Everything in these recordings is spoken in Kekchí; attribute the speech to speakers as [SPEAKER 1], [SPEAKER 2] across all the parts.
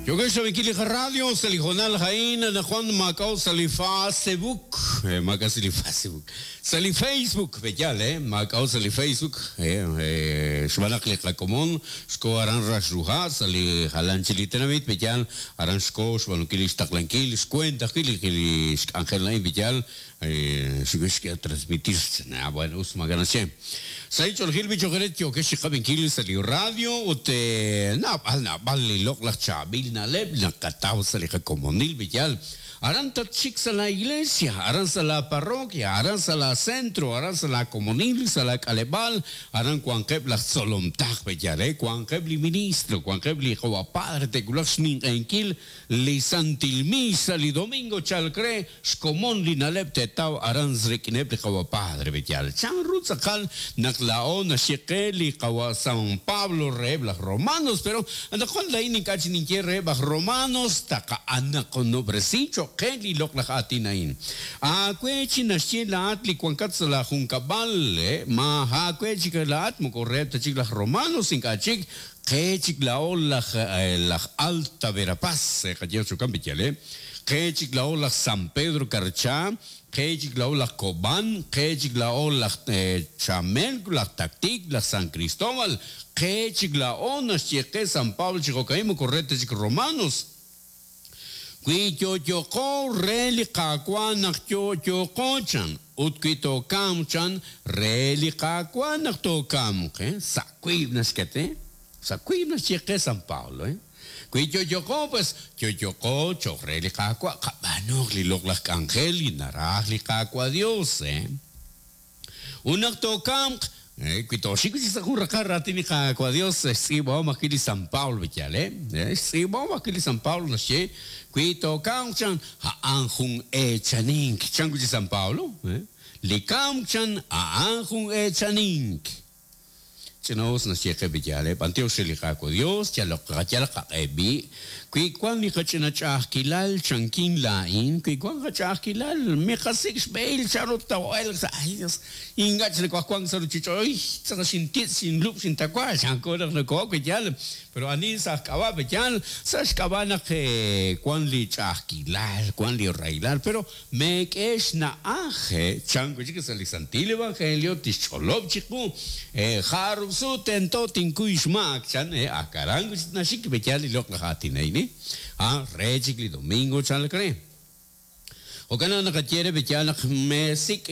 [SPEAKER 1] Yokex rab'inkil li qaradio sa' li hoonal a'in anaqwan maak'a'o sa' li Facebook, maak'a' sa' li Facebook, sa' li Facebook, pe'yaal, maak'a'o sa' li Facebook, xb'aan naq li qakomon xko aran Raxruha' sa' li jalan chik li tenamit, pe'yaal, aran xko xb'aanunkil li xtaqlankil xkuent ajwi' li xk'anjel a'in, pe'yaal, Xk'e transmitir ah bueno us maak'a' naxye. Sahil ch'oolejil b'i cho'q eere yookex chi qab'inkil sa' li radio ut naab'al naab'al li loq'laj chaab'il na'leb' naqataw sa' li qakomonil b'i yaal. Aran tatxik sa' la iglesia, aran sa' la parroquia, aran sa' la centro, aran sa' la komonil, sa' la k'aleb'aal, aran wanqeb' laj tzolom taq b'i yaal, wanqeb' li ministro, wanqeb' li qawa' padre te'wulaq xninq'ehinkil li santil misa li domingo chalk re. Xkomon li na'leb' te'taw aran rik'ineb' li Qawa' Padre B'eyal. Chan ru tz'aqal naq laa'o naxye qe li Qawa' San Pablo reheb' laj Romanos? Pero anaqwan laa'in ink'a' chik ninye reheb' aj Romanos, taqa'anaqonob'resi cho'q qe li loq'laj aatin a'in. Aawe chi naxye laa'at li wankat sa' laa junkab'al, ma aawe chik laa'at moko reheb' ta chik laj Romanos, ink'a' chik, qe chik laa'o laj laj Alta Verapaz, qaye jo'kan B'eyal, Qe chik laa'o laj San Pedro Carchá, qe chik laa'o laj Cobán, qe chik laa'o laj Chamelco, laj Tactic, laj San Cristóbal, qe chik laa'o naxye qe San Pablo chi jo'ka'in moko re ta chik Romanos. Wi yo'yoqo re li Qaawa' naq yo'yoqo chan, ut wi tookamq chan, re li Qaawa' naq tookamq. Sa' wiib' naxket, sa' wiib' naxye qe San Pablo. Wi yo'yoqo, pues, yo'yoqo cho'q re li Qaawa', qab'aanuuq li loq'laj k'anjel li naraj li Qaawa' Dios. Ut naq tookamq, wi tooxik wi' chik sa' jun raqal raatin li Qaawa' Dios, xtz'iib'ahom ajwi' li San Pablo, yaal, xtz'iib'ahom ajwi' li San Pablo naxye, wi tookamq, chan, a'an jun eechanink. Chan wi' chik San Pablo, li kamk, chan, a'an jun eechanink. Ch'ina'us naxye qe li yaal, B'antiox re li Qaawa' Dios, yaloq qayalaq qaq'e b'i'. Wi wan li qach'ina ch'a'ajkilal, chankin laa'in, wi wan qach'a'ajkilal, miqasik' xb'ehil chanru too'elq sa' Ay Dios, ink'a' chik nawaj wank sa' ruchich'och', uy, tz'aqal xintitz', xinlub', xintawa, chanko naq noko'ok wi yaal. Pero ani sa' aj k'ab'a' pe yaal? Sa' xk'ab'a' naq wan li ch'a'ajkilal, wan li rahilal, pero Meek'e xna'aj, chan wi' chik sa' li Santil Evangelio tixch'olob' chiqu, Jarub' sut tento tinkuy xmaak, chan, ak aran wi' chik naxik b'eyal li loq'laj aatin a'in, re chik li domingo chalk re. Jo'kan naq naqaye re b'eyal naq meesik'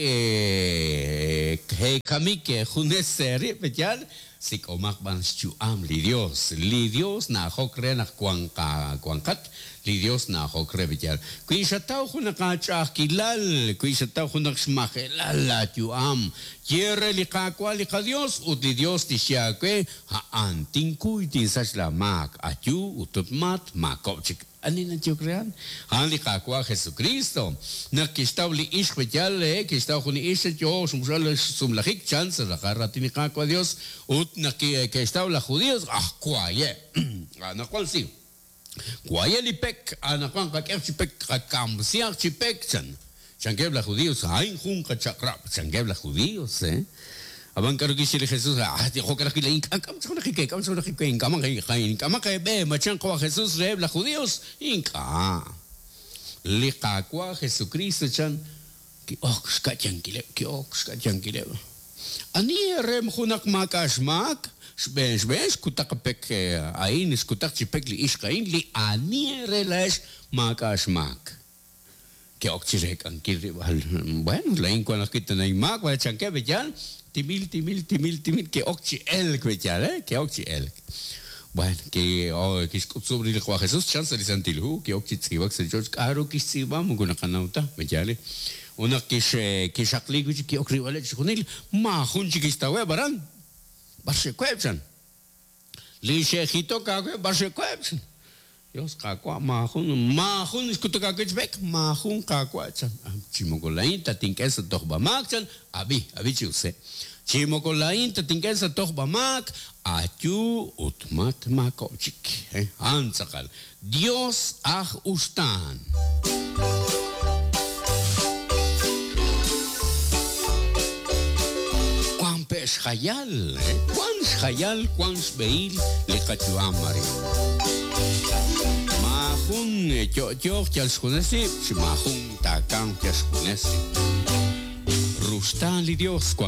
[SPEAKER 1] eekamik eejunes eerib' b'eyal, Sik'omaq b'an xyu'am li Dios. Li Dios na'ajok re naq wanqat, li Dios na'ajok re b'iyal. Wi xataw junaq aach'a'ajkilal, wi xataw junaq xmajelal laa yu'am, ye re li Qaawa' li qaDios, ut li Dios tixye aawe, A'an, tinkuy tinsach laa maak, ayu ut mat maakob' chik. Ani nayehok re a'an? A'an li Qaawa' Jesukristo. Naq kixtaw li ixq b'eyal, kixtaw jun li ixq yoo xmuxb'al xsumlajik, chan sa' raqal raatin li Qaawa' Dios, ut naq ke'xtaw laj Judios, ah, waye'! Anaqwan si. Waye' li pek, anaqwan qak'ehaq chi pek, qakamsihaq chi pek, chan. Chankeb' laj Judios, A'in jun qachaq'rab', chankeb' laj Judios. Ab'an k'aru kixye li Jesus? Ah, jo'kan ajwi' laa'in k'am chaq junaq we, k'am chaq junaq we, ink'amaq eeb'e, ma chan qawa' Jesus reheb' laj Judios? Ink'a'. Li Qaawa' Jesukristo chan, ki'ok xka'yankileb', ki'ok xka'yankileb'. Ani eere junaq maak'a' xmaak? Xb'een xb'een xkutaq pek a'in, xkutaq chi pek li ixq a'in, li ani eere laa'ex maak'a' xmaak. Ke'ok chi reek'ankil rib' al, bueno, laa'in wank ajwi' tana inmaak, b'ayaq chankeb' b'eyal, timil, timil, timil, timil, ke'ok chi elk b'eyal, ke'ok chi elk. Bueno, kixk'utzub' rib' li Qawa' Jesús chan sa' li Santil Hu, ki'ok chi tz'iib'ak sa' li ch'och', k'a'ru kixtz'iib'a moko naqanaw ta, b'eyal. Ut naq kixaqliik wi' chik ki'ok rilb'aleb' chixjunil, maajun chik kixtaweb' aran. B'ar xe'web' chan. Li xe'jitok aawe b'ar xe'web', chan. Dios, Qaawa', maajun, maajun xkutuk aawe chi pek, maajun, Qaawa', chan. Chi moko laa'in tatink'e sa' tojb'a-maak, chan. Ab'i, ab'i chi us, Chi moko laa'in tatink'e sa' tojb'a-maak, ayu ut matmaakob'k chik. A'an tz'aqal. Dios aj uxtaan. Wan pe' xjayal, wan xjayal, wan xb'ehil li qayu'am arin. Te'yo'yooq yal xjunes rib', chi maajun taakamq yal xjunes rib'. Ruxtaan li Dios.